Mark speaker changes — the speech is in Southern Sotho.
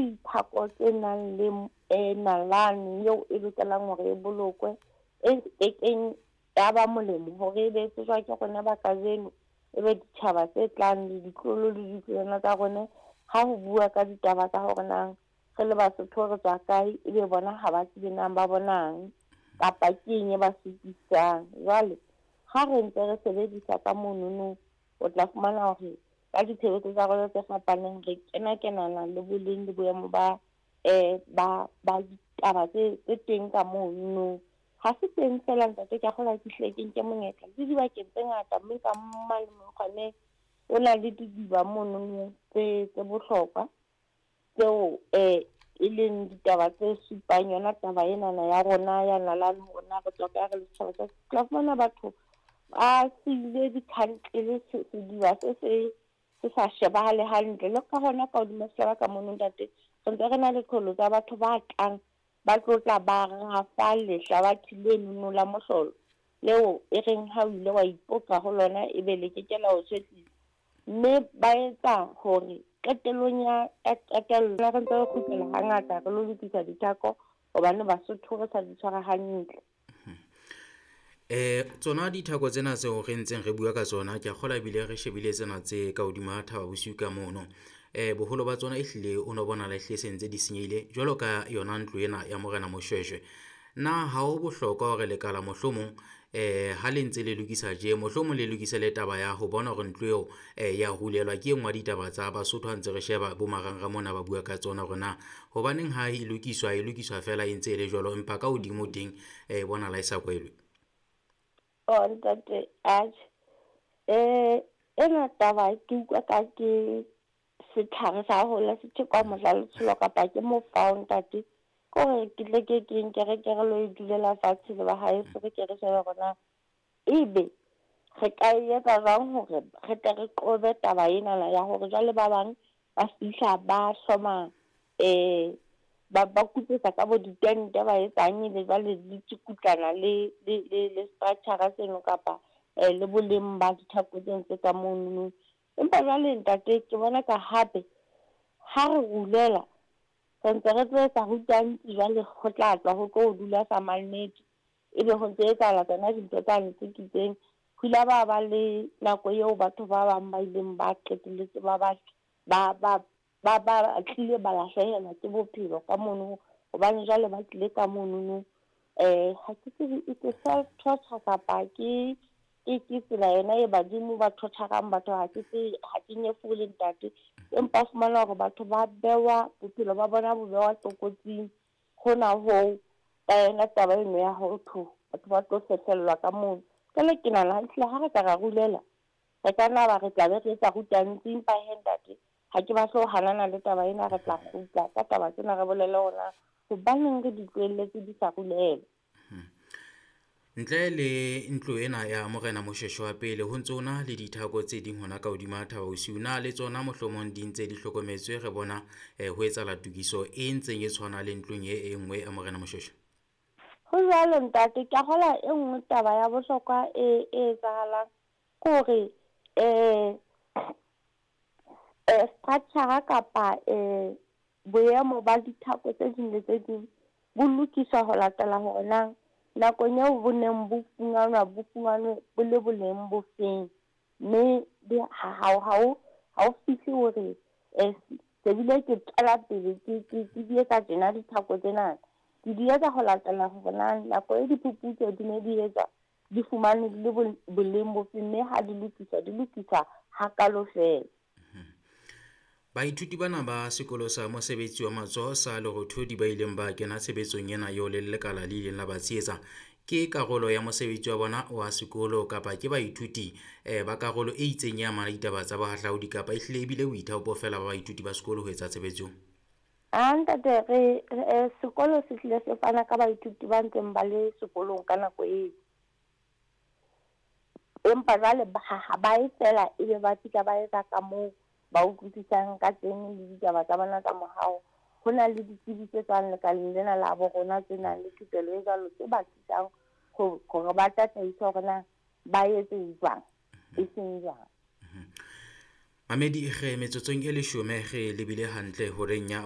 Speaker 1: dithako tse nang le nalane eo e lokelang hore e bolokwe, e kekeng ya ba molemo hore e be tsejwa ke rona ba kajeno, e be ditjhaba tse tlang le ditloholo le ditloholwana tsa rona. Ha ho bua ka ditaba tsa hore na re le Basotho re tswa kae, ebe bona ha ba tsebe nang ba bonang kapa ke eng e ba supisang. Jwale ha re ntse re sebedisa ka monono, o tla fumana hore ka ditshebetso tsa rona tse fapaneng re kena-kenana le boleng le boemo ba ba ditaba tse teng ka mono. Ha se teng fela ntate, ke a kgolwa ke hlile ke nke monyetla le dibakeng tse ngata, mme ka mane mokgwaneng o na le didiba monono tse bohlokwa tseo e leng ditaba tse supang yona taba enana ya rona ya nalane, hore na re tswa kae re le setjhaba sa. Tla fumana batho ba siile dikhantlele, sediba se se sa shebahale hantle. Le ka hona ka hodima sehlaba ka mono ntate, re ntse re na le qholo tsa batho ba tlang ba tlotla ba rafa lehlabathe lenono la mohlolo leo e reng ha o ile wa ipoka ho lona ebe le keke la o tshwetlisa. Mme ba etsa hore qetellong ya qetello re ntse re kgutlela hangata re lo lokisa dithako hobane Basotho re sa di tshwara hantle.
Speaker 2: Tsona dithako tsena tseo re ntseng re bua ka tsona, ke a kgolwa ebile re shebile tsena tse ka hodima Thaba Bosiu ka mono. Boholo ba tsona ehlile o no bonahala ehlile se ntse di senyehile jwalo ka yona ntlo ena ya Morena Moshweshwe. Na ha ho bohlokwa hore lekala mohlomong ha le ntse le lokisa tje, mohlomong le lokise le taba ya ho bona hore ntlo eo ya rulelwa? Ke e nngwe ya ditaba tsa Basotho ha ntse re sheba bo marangrang mona ba bua ka tsona hore na hobaneng ha e lokiswa, e lokiswa fela e ntse e le jwalo, empa ka hodimo teng e bonahala e sa kwelwe.
Speaker 1: Oh ntate, atjhe, ena taba ke utlwa ka ke setlhare sa hola se thekwa mohla letsholo kapa ke mofao ntate. Ke hore ke tle ke nke re ke re lo e dulela fatshe le ba haeso, re ke re shebe hore na ebe re ka e etsa jwang hore re tle re qobe taba enana ya hore jwale ba bang ba fihla ba hloma ba kupetsa ka bo ditente ba etsang, ebe jwale di tsukutlana le structure seno kapa le boleng ba dithako tseno tse ka monono. Empa jwale ntate ke bona ka hape ha re rulela re ntse re tlo etsa rutantsi, jwale ho tla tswa ho tlo dula sa mannete, ebe ho ntse etsahala tsona dintho tsane tse kitseng. Ho ile ba le nako eo batho ba bang ba ileng ba qetelletse ba ba tlile ba lahlehelwa ke bophelo ka mono, hobane jwale ba tlile ka monono. Ha ke tsebe e ke self torture kapa ke tsela yona e badimo ba torture-rang batho, ha ke tsebe, ha ke nyefole ntate, empa o fumana hore batho ba bewa bophelo ba bona bo bewa tlokotsing hona hoo ka yona taba eno ya ho tho batho ba tlo fehlellwa ka mono. Jwale ke nahana ehlile ha re ka ra rulela re ka nna ba re tla be re etsa rutantsi, empa he ntate ha ke batle ho hanana le taba ena, re tla kgutla ka taba tsena re bolele hore hobaneng re di tlohelletse di sa rulela.
Speaker 2: Ntle le ntlo ena ya Morena Moshweshwe wa pele, ho ntse ho na le dithako tse ding hona ka hodima Thaba Bosiu. Na le tsona mohlomong di ntse di hlokometswe? Re bona ho etsahala tokiso e ntseng e tshwana le ntlong e nngwe ya Morena Moshweshwe.
Speaker 1: Ho jwalo ntate, ke a kgolwa e nngwe taba ya bohlokwa e etsahalang ke hore structure kapa boemo ba dithako tse ding le tse ding bo lokiswa ho latela hore na nakong eo bo neng bo fumanwa bo fumanwe bo le boleng bo feng, mme ha o fihle hore se bile ke tswela pele ke di etsa tjena dithako tsena, ke di etsa ho latela hore na nako e diphuputso di ne di etswa di fumanwe di le boleng bo feng, mme ha di lokiswa di lokiswa hakalo fela.
Speaker 2: Baithuti bana ba sekolo sa mosebetsi wa matsoho sa Lerothodi ba ileng ba kena tshebetsong ena eo le lekala le ileng la ba tshehetsa, ke karolo ya mosebetsi wa bona wa sekolo kapa ke baithuti ba karolo e itseng ya amana ditaba tsa bohahlaudi, kapa ehlile ebile boithaopo fela ba baithuti ba sekolo ho etsa tshebetso?
Speaker 1: A ntate, re sekolo se hlile se fana ka baithuti ba ntseng ba le sekolong ka nako eo, empa jwale ha ba e fela ebe ba fihla ba etsa ka moo ba utlwisisang ka teng le ditaba tsa bona tsa mohao. Ho na le ditsebi tse tswang lekaleng lena la bo rona tse nang le thupelo e jwalo tse ba thusang hore ba tataise hore na ba etse jwang, e seng jwang.
Speaker 2: Mamedi, re metsotsong e 10 re lebile hantle horeng ya